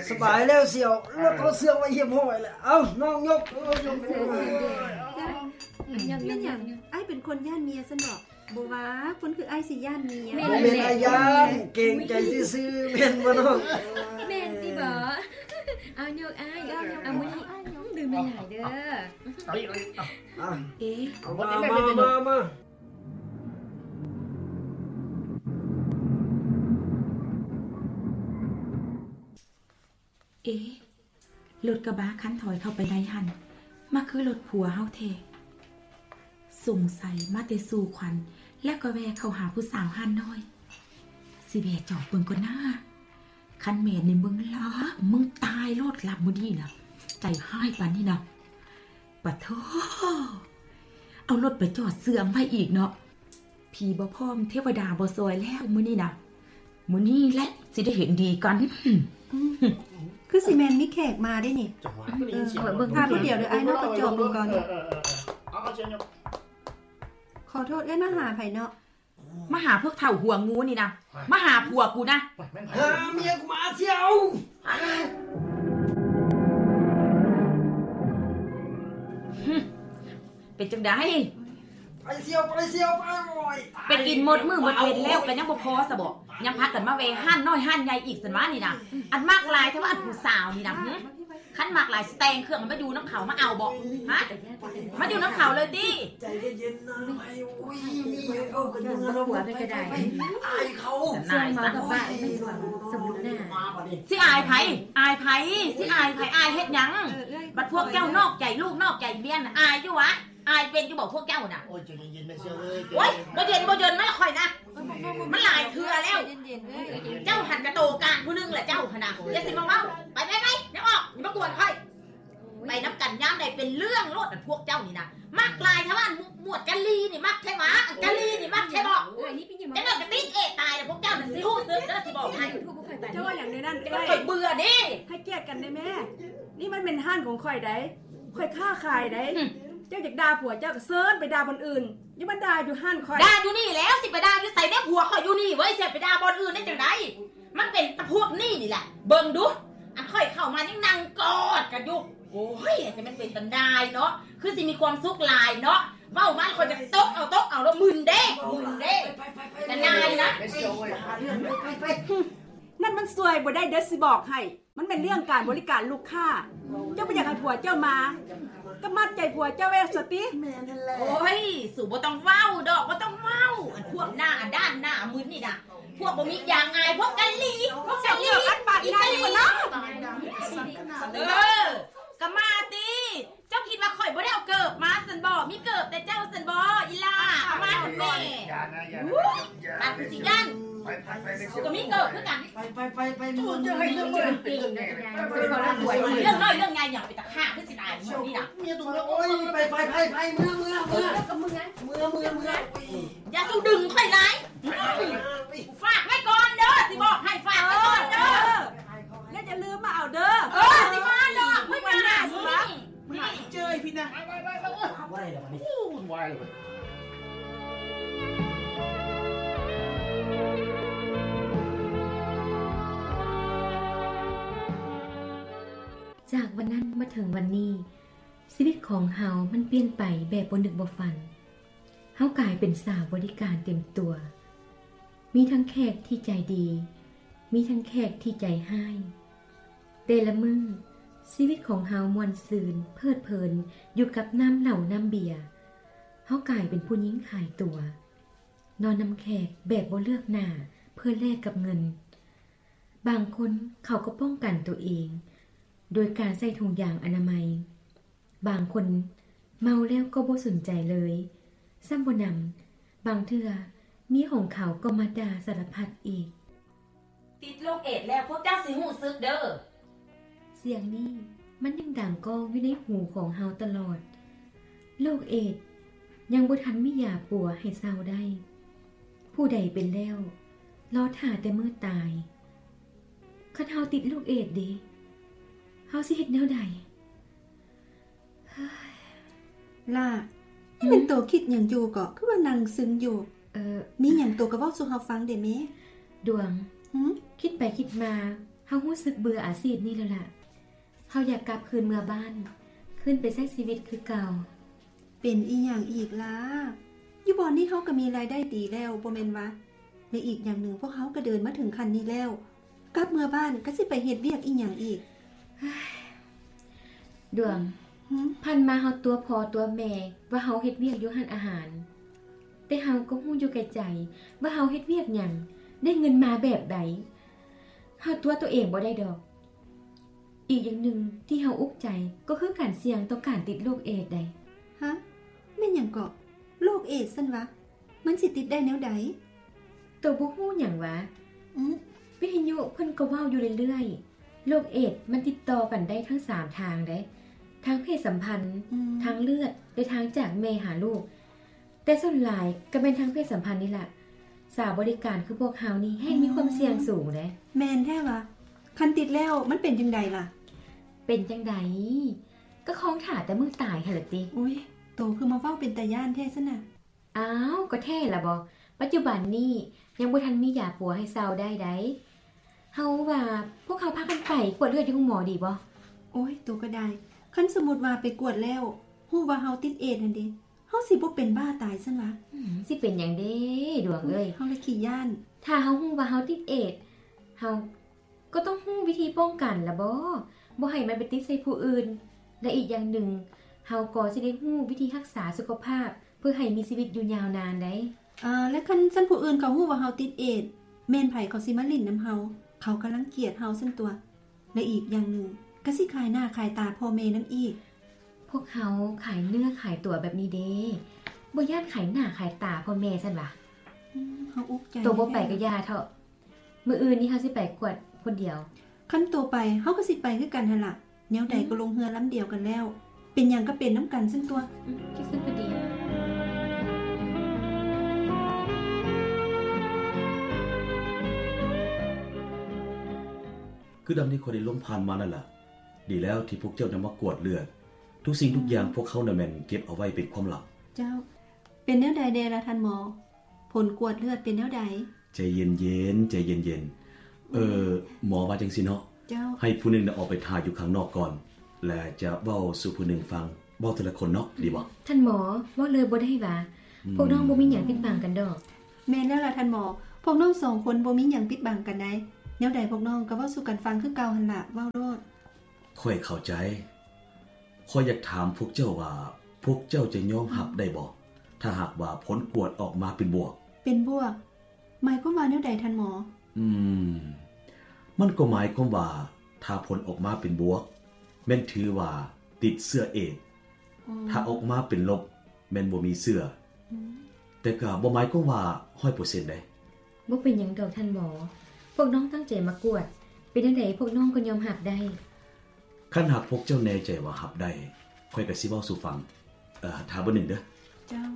ສະບາຍແລ້ວສ່ຽວ, ລົດເຮົາເຊື່ອງໄວ້ຮຽບຮ້ອຍແລ້ວ. ເອົ້າ ນ້ອງຍົກ, ເອີ ຍົກ. ເຈົ້າ ແມ່ນຫຍັງ? ອ້າຍເປັນຄົນຢ້ານເມຍຊັ້ນບໍ? ບໍ່ວ່າ, ຄົນຄືອ້າຍຊິຢ້ານເມຍ. ແມ່ນ ບໍ່ແມ່ນ ແຫຼະ ອ້າຍຢ້ານ, ເກງໃຈຊື່ໆ ແມ່ນບໍ່ນ້ອງ? ແມ່ນຕິບໍ? ເອົາ ຍົກອ້າຍ, ເອົາ ມື້ນີ້ດື່ມໃຫ້ຫຼາຍເດີ. ເອ ມາ ມາ ມາ ມາ. ເອ ລົດກະບະຄັນຖອຍເຂົ້າໄປໃນຫັ້ນ ມາຄືລົດຜົວເຮົາແທ້. ສົງໄສມາແຕ່ສູ່ຂວັນ ແລ້ວກໍແວ່ເຂົ້າຫາຜູ້ສາວຮ້ານນ້ອຍ. ຊິແວ່ຈອດເບິ່ງກ່ອນນາ. ຄັນແມ່ນນີ້ມຶງລາບ, ມຶງຕາຍໂລດ, ລາບມື້ນີ້ນະ. ໃຈຮ້າຍປານນີ້ນະ. ປະໂທ! ເອົາລົດໄປຈອດເຊື່ອງໄວ້ອີກເນາະ. ຜີບໍ່ພ້ອມ ເທວະດາບໍ່ຊ່ອຍແລ້ວມື້ນີ້ນະ. ມື້ນີ້ແຫຼະຊິໄດ້ເຫັນດີກັນ. ຄືຊິແມ່ນມີແຂກມາເດ້ນີ້. ເອີ ເບິ່ງພາບຜູ້ດຽວເດີອ້າຍເນາະ, ໄປຈອດເບິ່ງກ່ອນ. ເອີ ເອີ ເອີ ເອີ ເອົາ ເອົາ ເຊີນ. ຂໍໂທດເອື້ອຍ, ມາຫາໃຜເນາະ? ມາຫາພວກເຖົ້າຫົວງູນີ້ນະ. ມາຫາຜົວກູນະ. ຫາເມຍກູມາສ່ຽວ. ເປັນຈັ່ງໃດ? ໄປສ່ຽວ ໄປສ່ຽວ ໄປ. ໂອ້ຍ ໄປກິນໝົດມື້ໝົດເວັນແລ້ວ ກໍຍັງບໍ່ພໍຊະບໍ? ຍັງພາກັນມາແວ່ຮ້ານນ້ອຍຮ້ານໃຫຍ່ອີກຊັ້ນຫວານີ້ນະ. ອັນມັກຫຼາຍແທ້ວ່າ ອັນຜູ້ສາວນີ້ນະ. ຄັນມັກຫຼາຍຊິແຕ່ງເຄື່ອງໃຫ້ມາຢູ່ນຳເຂົາ, ມາເອົາບໍ? ຮະ? ມາຢູ່ນຳເຂົາເລີຍຕິ? ໃຈເຢັນໆນາ. ໂອ້ຍ ມີຫຍັງເວົ້າກັນຢູ່ນຳຜົວໄປກໍໄດ້. ອາຍເຂົາ. ສ່ວນເມົາກັບປາກແມ່ນຫວັງສະບຸດໜ້າ. ຊິອາຍໃຜ? ອາຍໃຜ? ຊິອາຍໃຜ? ອາຍເຮັດຫຍັງ? ບັດພວກເຈົ້ານອກໃຈລູກນອກໃຈເມຍນະ, ອາຍຢູ່ຫວາ? ອາຍເປັນຢູ່ບໍ່ພວກເຈົ້ານະ? ໂອ້ຍ ໃຈເຢັນໆແມ່ເຊຍເອີຍ. ໂອ້ຍ ບໍ່ເຢັນບໍ່ເຢັນນະ ຂ້ອຍນະ. ມັນຫຼາຍເທື່ອແລ້ວ. ເຈົ້າຫັ້ນກະໂຕກາງຜູ້ໜຶ່ງລະເຈົ້າຫັ້ນນະ. ຢ່າຊິມາເວົ້າ. ໄປ ໄປ ໄປ ຢ່າອອກ, ຢ່າມາກວນຂ້ອຍ. ໄປນຳກັນຍາມໃດເປັນເລື່ອງໂລດ. ອັນພວກເຈົ້ານີ້ນະ ມັກຫຼາຍແທ້ຫວາ? ໝວດກະລີນີ້ມັກແທ້ຫວາ? ອັນກະລີນີ້ມັກແທ້ບໍ? ຈັກໜ້ອຍກະຕິດເອຕາຍແລ້ວ. ພວກເຈົ້ານັ້ນຊິຮູ້ສຶກເດີ ຊິບອກໃຫ້. ເຈົ້າວ່າຫຍັງໃນນັ້ນ? ຂ້ອຍເບື່ອເດ້. ໃຫ້ກຽດກັນແດ່ແມ່. ນີ້ມັນແມ່ນຮ້ານຂອງຂ້ອຍໃດ. ຂ້ອຍຄ້າຂາຍໃດ. ເຈົ້າຢາກດ່າຜົວເຈົ້າກໍເຊີນໄປດ່າບ່ອນອື່ນ, ຢ່າມາດ່າຢູ່ຮ້ານຂ້ອຍ. ດ່າຢູ່ນີ້ແລ້ວ, ຊິໄປດ່າຢູ່ໃສແດ່? ຜົວຂ້ອຍຢູ່ນີ້ເວີຍ, ຊິໄປດ່າບ່ອນອື່ນໄດ້ຈັ່ງໃດ? ມັນເປັນພວກນີ້ນີ້ແຫຼະ. ເບິ່ງດູ, ອັນຂ້ອຍເຂົ້າມາຍັງນັ່ງກອດກັນຢູ່. ໂອ້ຍ ແຕ່ມັນເປັນຕາໜ່າຍເນາະ, ຄືຊິມີຄວາມສຸກຫຼາຍເນາະ. ເວົ້າມາແລ້ວຂ້ອຍຈະຕົບເອົາ, ຕົບເອົາແລ້ວ. ມຶນເດ້ ມຶນເດ້. ຕາໜ່າຍນະ. ນັ້ນມັນຊ່ວຍບໍ່ໄດ້ເດີ ຊິບອກໃຫ້. ມັນແມ່ນເລື່ອງການບໍລິການລູກຄ້າ. ເຈົ້າບໍ່ຢາກໃຫ້ຜົວເຈົ້າມາ ກໍມັດໃຈຜົວເຈົ້າໄວ້ສະຕິ. ແມ່ນຫັ້ນແຫຼະ. ໂອ້ຍ ສູບໍ່ຕ້ອງເວົ້າດອກ, ບໍ່ຕ້ອງເວົ້າ. ອັນພວກໜ້າດ້ານໜ້າມຶນນີ້ນະ, ພວກບໍ່ມີຢາງອາຍ, ພວກກະລີ, ພວກກະລີ, ອີກະລີ. ເອີ ກໍມາຕິ. ເຈົ້າຄິດວ່າຂ້ອຍບໍ່ໄດ້ເອົາເກີບມາຊັ້ນບໍ? ມີເກີບແຕ່ເຈົ້າຊັ້ນບໍ ອີ່ຫຼ້າ? ເອົາມາຫັ້ນແດ່. ປາກຊິຢ້ານ. ໄປ ໄປ ໄປ ໄປ. ກູກໍມີເກີບຄືກັນ. ໄປ ໄປ ໄປ ໄປ. ເລື່ອງນ້ອຍເລື່ອງໃຫຍ່ຫຍັງ ເປັນຕາຂ້າຄືຊິຕາຍມື້ນີ້ນະ. ເມຍຕົວນ້ອຍ. ໂອ້ຍ ໄປ ໄປ ໄປ ໄປ. ເມືອ ເມືອ ເມືອ ເມືອ ເມືອ ເມືອ. ຢ່າສູ່ດຶງຂ້ອຍຫຼາຍ. ຝາກໄວ້ກ່ອນເດີ, ຊິບອກໃຫ້. ຝາກໄວ້ກ່ອນເດີ. ແລ້ວຢ່າລືມມາເອົາເດີ. ເອີ ຊິມາດອກ. ມື້ໜ້າຊິມາ. ຫາເຈີອີກພີ້ນະ. ໄປ ໄປ ໄປ ໄປ. ໂອ້ຍ ວຸ້ນວາຍເລີຍ. ຈາກວັນນັ້ນມາເຖິງວັນນີ້, ຊີວິດຂອງເຮົາມັນປ່ຽນໄປແບບບໍ່ນຶກບໍ່ຝັນ. ເຮົາກາຍເປັນສາວບໍລິການເຕັມຕົວ. ມີທັງແຂກທີ່ໃຈດີ, ມີທັງແຂກທີ່ໃຈຮ້າຍ. ແຕ່ລະມື້, ຊີວິດຂອງເຮົາມ່ວນຊື່ນ, ເພີດເພີນຢູ່ກັບນ້ຳເຫຼົ້ານ້ຳເບຍ. ເຮົາກາຍເປັນຜູ້ຍິງຂາຍຕົວ, ນອນນຳແຂກແບບບໍ່ເລືອກໜ້າເພື່ອແລກກັບເງິນ. ບາງຄົນເຂົາກໍປ້ອງກັນຕົວເອງໂດຍການໃສ່ຖົງຢາງອະນາໄມ. ບາງຄົນເມົາແລ້ວກໍບໍ່ສົນໃຈເລີຍ. ຊ້ຳບໍ່ໜຳ, ບາງເທື່ອເມຍຂອງເຂົາກໍມາດ່າສາລະພັດອີກ. ຕິດໂລກເອດແລ້ວ, ພວກເຈົ້າຊິຮູ້ສຶກເດີ. ສຽງນີ້ມັນຍັງດັງກ້ອງຢູ່ໃນຫູຂອງເຮົາຕະຫຼອດ. ໂລກເອດຍັງບໍ່ທັນມີຢາປົວໃຫ້ເຊົາໄດ້. ຜູ້ໃດເປັນແລ້ວ, ລໍຖ້າແຕ່ມື້ຕາຍ. ຄັນເຮົາຕິດໂລກເອດເດ? ເຮົາຊິເຮັດແນວໃດ? ຫຼ້າ, ອືມ? ນີ້ແມ່ນໂຕຄິດຫຍັງຢູ່ເກາະ? ຄືວ່ານັ່ງຊຶມຢູ່. ເອີ ມີຫຍັງໂຕກໍເວົ້າສູ່ເຮົາຟັງເດແມ່. ດວງ, ຫື? ຄິດໄປຄິດມາ, ເຮົາຮູ້ສຶກເບື່ອອາຊີບນີ້ແລ້ວລະ. ເຮົາຢາກກັບຄືນເມືອບ້ານ, ຄືນໄປໃຊ້ຊີວິດຄືເກົ່າ. ເປັນອີ່ຫຍັງອີກລະ? ຢູ່ບ່ອນນີ້ເຮົາກໍມີລາຍໄດ້ດີແລ້ວ ບໍ່ແມ່ນວະ? ແລະ ອີກຢ່າງໜຶ່ງ ພວກເຮົາກໍເດີນມາເຖິງຂັ້ນນີ້ແລ້ວ, ກັບເມືອບ້ານກໍຊິໄປເຮັດວຽກອີ່ຫຍັງອີກ? ດວງ, ຫື? ຜ່ານມາເຮົາຕົວະພໍ່ຕົວະແມ່ວ່າເຮົາເຮັດວຽກຢູ່ຮ້ານອາຫານ, ແຕ່ເຮົາກໍຮູ້ຢູ່ແກ່ໃຈວ່າເຮົາເຮັດວຽກຫຍັງ, ໄດ້ເງິນມາແບບໃດ. ເຮົາຕົວະຕົວເອງບໍ່ໄດ້ດອກ. ອີກຢ່າງໜຶ່ງທີ່ເຮົາອຸກໃຈກໍຄືການສ່ຽງຕໍ່ການຕິດໂລກເອດໃດ໋. ຮະ? ແມ່ນຫຍັງເກາະ? ໂລກເອດຊັ້ນວະ? ມັນຊິຕິດໄດ້ແນວໃດ? ໂຕບໍ່ຮູ້ຫຍັງຫວາ? ອືມ? ວິທະຍຸເພິ່ນກໍເວົ້າຢູ່ເລື້ອຍໆ. ໂລກເອດມັນຕິດຕໍ່ກັນໄດ້ທັງສາມທາງເດ້, ທາງເພດສຳພັນ, ອືມ ທາງເລືອດ ແລະ ທາງຈາກແມ່ຫາລູກ. ແຕ່ສ່ວນຫຼາຍກໍແມ່ນທາງເພດສຳພັນນີ້ລະ. ສາວບໍລິການຄືພວກເຮົານີ້ແຮ່ງມີຄວາມສ່ຽງສູງເດ້. ແມ່ນແທ້ຫວາ? ຄັນຕິດແລ້ວມັນເປັນຈັ່ງໃດລະ? ເປັນຈັ່ງໃດ? ກໍຄອງຖ້າແຕ່ມື້ຕາຍຫັ້ນລະຕິ. ອຸ້ຍ, ໂຕຄືມາເວົ້າເປັນຕາຢ້ານແທ້ຊັ້ນນະ. ອ້າວ, ກໍແທ້ລະບໍ? ປັດຈຸບັນນີ້ຍັງບໍ່ທັນມີຢາປົວໃຫ້ເຊົາໄດ້ໃດ໋. ເຮົາວ່າພວກເຮົາພາກັນໄປກວດເລືອດຢູ່ໂຮງໝໍດີບໍ່? ໂອ້ຍ, ໂຕກໍໄດ້. ຄັນສົມມຸດວ່າໄປກວດແລ້ວ ຮູ້ວ່າເຮົາຕິດເອດຫັ້ນເດ? ເຮົາຊິບໍ່ເປັນບ້າຕາຍຊັ້ນຫວາ? ອືມ, ຊິເປັນຫຍັງເດ ດວງເອີຍ? ເຮົາລະຂີ້ຢ້ານ. ຖ້າເຮົາຮູ້ວ່າເຮົາຕິດເອດ, ເຮົາກໍຕ້ອງຮູ້ວິທີປ້ອງກັນລະບໍ? ບໍ່ໃຫ້ມັນໄປຕິດໃສ່ຜູ້ອື່ນ. ແລະ ອີກຢ່າງໜຶ່ງ, ເຮົາກໍຊິໄດ້ຮູ້ວິທີຮັກສາສຸຂະພາບ ເພື່ອໃຫ້ມີຊີວິດຢູ່ຍາວນານໄດ໋. ເອີ, ແລະ ຄັນຊັ້ນຜູ້ອື່ນເຂົາຮູ້ວ່າເຮົາຕິດເອດ, ແມ່ນໃຜເຂົາຊິມາຫຼິ້ນນຳເຮົາ? ເຂົາກໍລັງກຽດເຮົາຊັ້ນຕົວະ. ແລະ ອີກຢ່າງໜຶ່ງ ກໍຊິຂາຍໜ້າຂາຍຕາພໍ່ແມ່ນຳອີກ. ພວກເຮົາຂາຍເນື້ອຂາຍຕົວແບບນີ້ເດ້, ບໍ່ຢ້ານຂາຍໜ້າຂາຍຕາພໍ່ແມ່ຊັ້ນຫວາ? ອືມ, ເຮົາອຸກໃຈ. ໂຕບໍ່ໄປກໍຢ່າເຖາະ. ມື້ອື່ນນີ້ເຮົາຊິໄປກວດຄົນດຽວ. ຄັນໂຕໄປ, ເຮົາກໍຊິໄປຄືກັນຫັ້ນລະ. ແນວໃດກໍລົງເຮືອລຳດຽວກັນແລ້ວ, ເປັນຫຍັງກໍເປັນນຳກັນຊັ້ນຕົວະ. ອືມ, ຈັ່ງຊັ້ນກໍດີ. ຄືດັ່ງທີ່ຂ້ອຍໄດ້ລົມຜ່ານມານັ້ນລະ. ດີແລ້ວທີ່ພວກເຈົ້ານຳມາກວດເລືອດ. ທຸກສິ່ງທຸກຢ່າງພວກເຮົານະແມ່ນເກັບເອົາໄວ້ເປັນຄວາມລັບ. ເຈົ້າ. ເປັນແນວໃດແດ່ລະທ່ານໝໍ? ຜົນກວດເລືອດເປັນແນວໃດ? ໃຈເຢັນໆ, ໃຈເຢັນໆ. ເອີ, ໝໍວ່າຈັ່ງຊີ້ເນາະ. ເຈົ້າ. ໃຫ້ຜູ້ໜຶ່ງນະອອກໄປຖ້າຢູ່ຂ້າງນອກກ່ອນ, ແລະ ຈະເວົ້າສູ່ຜູ້ໜຶ່ງຟັງ. ເວົ້າເທື່ອລະຄົນເນາະ, ດີບໍ່? ທ່ານໝໍ, ເວົ້າເລີຍບໍ່ໄດ້ຫວາ? ອືມ. ພວກນ້ອງບໍ່ມີຫຍັງປິດບັງກັນດອກ. ແມ່ນແລ້ວລະທ່ານໝໍ, ພວກນ້ອງສອງຄົນບໍ່ມີຫຍັງປິດບັງກັນໃດ໋. ແນວໃດພວກນ້ອງກໍເວົ້າສູ່ກັນຟັງຄືເກົ່າຫັ້ນລະ, ເວົ້າໂລດ. ຂ້ອຍເຂົ້າໃຈ. ຂ້ອຍຢາກຖາມພວກເຈົ້າວ່າ ພວກເຈົ້າຈະຍອມຮັບໄດ້ບໍ່ ຖ້າຫາກວ່າຜົນກວດອອກມາເປັນບວກ? ເປັນບວກ? ໝາຍຄວາມວ່າແນວໃດທ່ານໝໍ? ອືມ, ມັນກໍໝາຍຄວາມວ່າ ຖ້າຜົນອອກມາເປັນບວກ, ແມ່ນຖືວ່າຕິດເຊື້ອເອດ. ອໍ. ຖ້າອອກມາເປັນລົບ, ແມ່ນບໍ່ມີເຊື້ອ. ອືມ. ແຕ່ກໍບໍ່ໝາຍຄວາມວ່າຮ້ອຍເປີເຊັນເດ້. ບໍ່ເປັນຫຍັງດອກທ່ານໝໍ, ພວກນ້ອງຕັ້ງໃຈມາກວດ, ເປັນແນວໃດພວກນ້ອງກໍຍອມຮັບໄດ້. ຄັນຫາກພວກເຈົ້າແນ່ໃຈວ່າຮັບໄດ້, ຂ້ອຍກໍຊິເວົ້າສູ່ຟັງ. ເອີ, ຖ້າເບິ່ງໜຶ່ງເດີ. ເຈົ້າ.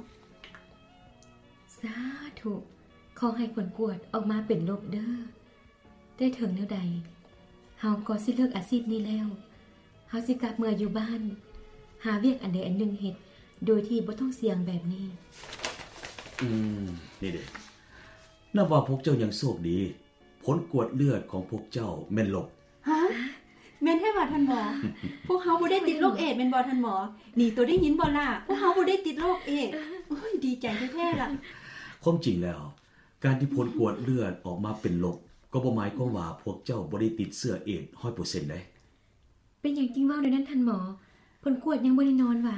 ສາທຸ, ຂໍໃຫ້ຜົນກວດອອກມາເປັນລົບເດີ. ແຕ່ເຖິງແນວໃດ, ເຮົາກໍຊິເລີກອາຊີບນີ້ແລ້ວ. ເຮົາຊິກັບເມືອຢູ່ບ້ານ, ຫາວຽກອັນໃດອັນໜຶ່ງເຮັດ ໂດຍທີ່ບໍ່ຕ້ອງສ່ຽງແບບນີ້. ອືມ, ນີ້ເດ, ນັບວ່າພວກເຈົ້າຍັງໂຊກດີ, ຜົນກວດເລືອດຂອງພວກເຈົ້າແມ່ນລົບ. ຮະ? ແມ່ນແທ້ຫວາທ່ານໝໍ? ພວກເຮົາບໍ່ໄດ້ຕິດໂລກເອດແມ່ນບໍ່ທ່ານໝໍ? ນີ້ໂຕໄດ້ຍິນບໍ່ລະ? ພວກເຮົາບໍ່ໄດ້ຕິດໂລກເອດ. ໂອ້ຍ, ດີໃຈແທ້ໆລະ. ຄວາມຈິງແລ້ວ, ການທີ່ຜົນກວດເລືອດອອກມາເປັນລົບ ກໍບໍ່ໝາຍຄວາມວ່າພວກເຈົ້າບໍ່ໄດ້ຕິດເຊື້ອເອດຮ້ອຍເປີເຊັນເດ້. ເປັນຫຍັງຈຶ່ງເວົ້າແນວນັ້ນທ່ານໝໍ? ຜົນກວດຍັງບໍ່ແນ່ນອນຫວາ?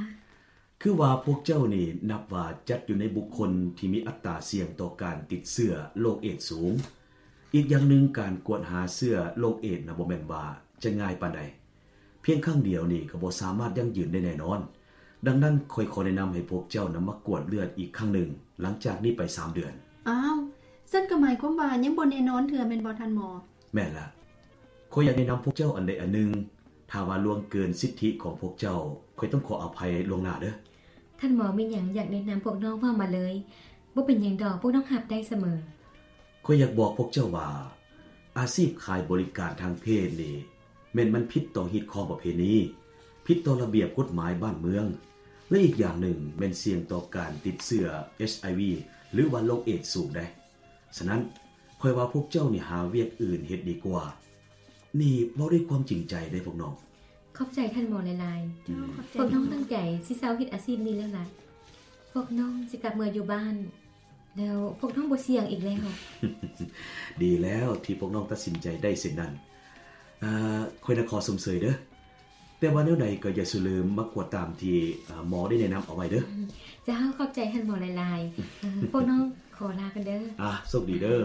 ຄືວ່າພວກເຈົ້ານີ້ນັບວ່າຈັດຢູ່ໃນບຸກຄົນທີ່ມີອັດຕາສ່ຽງຕໍ່ການຕິດເຊື້ອໂລກເອດສູງ. ອີກຢ່າງໜຶ່ງ, ການກວດຫາເຊື້ອໂລກເອດນະ ບໍ່ແມ່ນວ່າຈະງ່າຍປານໃດ. ພຽງຄັ້ງດຽວນີ້ກໍບໍ່ສາມາດຢັ້ງຢືນໄດ້ແນ່ນອນ. ດັ່ງນັ້ນ, ຂ້ອຍຂໍແນະນຳໃຫ້ພວກເຈົ້ານຳມາກວດເລືອດອີກຄັ້ງໜຶ່ງ ຫຼັງຈາກນີ້ໄປສາມເດືອນ. ອ້າວ, ຊັ້ນກໍໝາຍຄວາມວ່າຍັງບໍ່ແນ່ນອນເທື່ອແມ່ນບໍ່ທ່ານໝໍ? ແມ່ນລະ. ຂ້ອຍຢາກແນະນຳພວກເຈົ້າອັນໃດອັນໜຶ່ງ. ຖ້າວ່າລ່ວງເກີນສິດທິຂອງພວກເຈົ້າ, ຂ້ອຍຕ້ອງຂໍອະໄພລ່ວງໜ້າເດີ. ທ່ານໝໍມີຫຍັງຢາກແນະນຳພວກນ້ອງເວົ້າມາເລີຍ. ບໍ່ເປັນຫຍັງດອກ, ພວກນ້ອງຮັບໄດ້ສະເໝີ. ຂ້ອຍຢາກບອກພວກເຈົ້າວ່າ ອາຊີບຂາຍບໍລິການທາງເພດນີ້ ແມ່ນມັນຜິດຕໍ່ຮີດຄອງປະເພນີ, ຜິດຕໍ່ລະບຽບກົດໝາຍບ້ານເມືອງ ແລະ ອີກຢ່າງໜຶ່ງແມ່ນສ່ຽງຕໍ່ການຕິດເຊື້ອ ເອັດໄອວີ ຫຼືວ່າໂລກເອດສູງເດ້. ສະນັ້ນ, ຂ້ອຍວ່າພວກເຈົ້ານີ້ຫາວຽກອື່ນເຮັດດີກວ່າ. ນີ້ເວົ້າດ້ວຍຄວາມຈິງໃຈເດ້ພວກນ້ອງ. ຂອບໃຈທ່ານໝໍຫຼາຍໆ. ເຈົ້າ ຂອບໃຈ. ພວກນ້ອງຕັ້ງໃຈຊິເຊົາເຮັດອາຊີບນີ້ແລ້ວລະ. ພວກນ້ອງຊິກັບເມືອຢູ່ບ້ານ ແລ້ວພວກນ້ອງບໍ່ສ່ຽງອີກແລ້ວ. ດີແລ້ວທີ່ພວກນ້ອງຕັດສິນໃຈໄດ້ເຊັ່ນນັ້ນ. ອາ ຂ້ອຍນະຂໍຊົມເຊີຍເດີ້. ແຕ່ວ່າແນວໃດກໍຢ່າສູ່ລືມມາກວດຕາມທີ່ ອາ ໝໍໄດ້ແນະນຳເອົາໄວ້ເດີ້. ເຈົ້າ ຂອບໃຈທ່ານໝໍຫຼາຍໆ. ເອີ ພວກນ້ອງຂໍລາກ່ອນເດີ້. ອາ ໂຊກດີເດີ້.